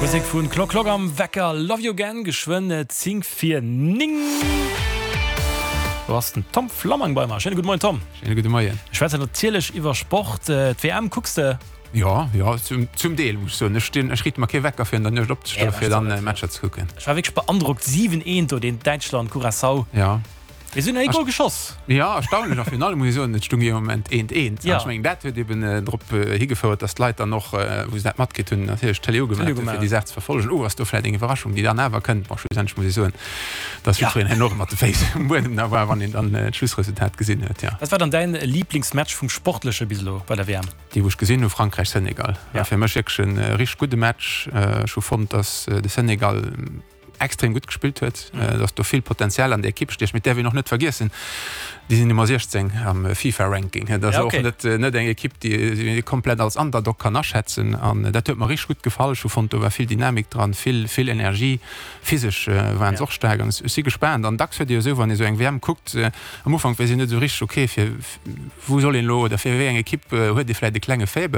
Musek vun Klock Klock am Wecker, Love You Again, geschwënn 10 vir 9. Do ass den Tom Flammang bei mer. Schéine gudde Moien Tom. Schéine gudde Moien. Mir schwätzen natierlech iwwer Sport. D'WM kucks de? Jo, jo, zum, zum Deel muss ech soen. Ech stinn, ech riite mer kee Wecker fir an der Nuecht opzestoen, fir dann Matcher ze kucken. Ech war wierklech beandrockt, 7, 1 do, deen Däitschland, Curaçao. Jo. Mir sinn ee Gol geschoss. Jo, erstaunlech. A virun allem muss ech soen, et stung ee Moment eent, eent. An ech mengen, dat huet eben drop higefouert, datt d'Leit dann och, wou se dat matkritt hunn, natierlech d'Tëlee ugemaach hunn, fir déi Saach ze verfollegen. Oh, ass do vläicht eng Iwwerraschung, déi dann awer kënnt? Bon, schlussendlech muss ech soen, datt jiddwereen herno mat de Féiss um Buedem da war, wann een dann d'Schlussresultat gesinn huet, jo. Wat war dann däin Liblingsmatch vum Sportleche bis elo bei der WM? Dee wou ech gesinn hu, Frankräich-Senegal, war fir mech wierklech e richteg gudde Match. Ech hu fonnt, datt de Senegal extrem gutt gespillt huet, dass do vill Potenzial an der Ekipp stécht. Mee et däerf een och net vergiessen, déi sinn Nummer 16 am FIFA-Ranking. Dat ass och net net eng Ekipp, déi ee komplett als Underdog kann aschätzen. An dat huet mer richteg gutt gefall. Ech hu fonnt, do war vill Dynamik dran, vill, vill Energie. Physesch waren se och staark. An ech si gespaant. An dacks huet ee jo esou, wann ee esou eng WM kuckt, am Ufank weess een net esou richteg, okay, fir wou soll een elo oder fir wéi eng Ekipp huet ee vläicht e klenge Faible.